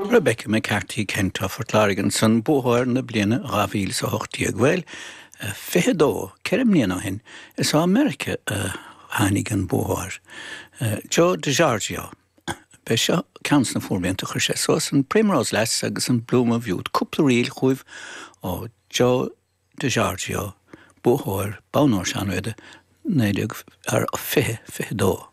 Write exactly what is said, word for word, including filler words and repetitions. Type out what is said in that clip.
Rebecca McCarthy Kent as Port Láirge ansan buaiteoir na bliana dhá mhíle is a hocht déag bhuel fiche dó ceithre bliana ó shin is as Meiriceá a tháinig an buaiteoir. Joe DiGiorgio. B'é seo ceann de na fuaimrianta chuir sé suas an Primrose Lass agus an Bloom of Youth cúpla ríl chugaibh ó Joe DiGiorgio buaiteoir Bonn Óir Sean Riada naoi déag fiche fiche dó.